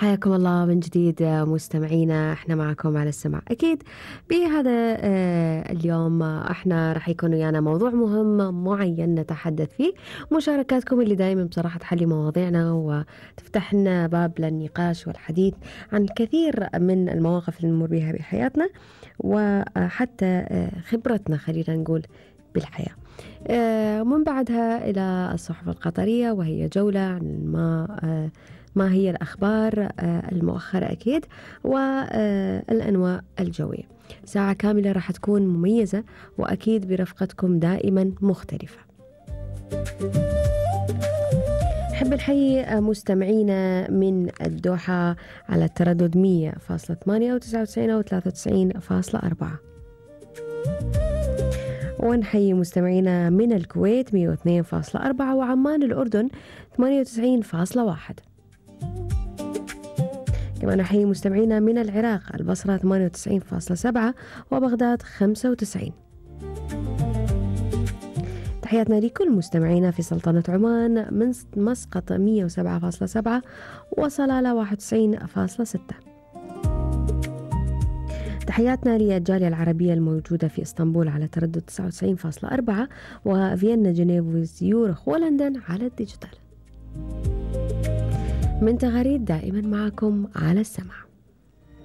حياكم الله من جديد مستمعينا، احنا معكم على السمع. اكيد بهذا اليوم احنا راح يكون ويانا موضوع مهم معين نتحدث فيه. مشاركاتكم اللي دائما بصراحة تحلي مواضيعنا وتفتح لنا باب للنقاش والحديث عن الكثير من المواقف اللي نمر بها بحياتنا، وحتى خبرتنا خلينا نقول بالحياة. ومن بعدها إلى الصحف القطرية، وهي جولة عن ما هي الأخبار المؤخرة أكيد، والأنواع الجوية. ساعة كاملة راح تكون مميزة وأكيد برفقتكم دائما مختلفة. حب الحي مستمعينا من الدوحة على التردد 100.8 و99 و93.4، ونحيي مستمعينا من الكويت 102.4 وعمان الأردن 98.1. كما نحيي مستمعينا من العراق البصرة 98.7 وبغداد 95. تحياتنا لكل مستمعينا في سلطنة عمان من مسقط 107.7 وصلالة 91.6. تحياتنا للجالية العربية الموجودة في اسطنبول على تردد 99.4 وفيينا جنيف وزيورخ ولندن على الديجيتال. من تغاريد دائما معكم على السمع.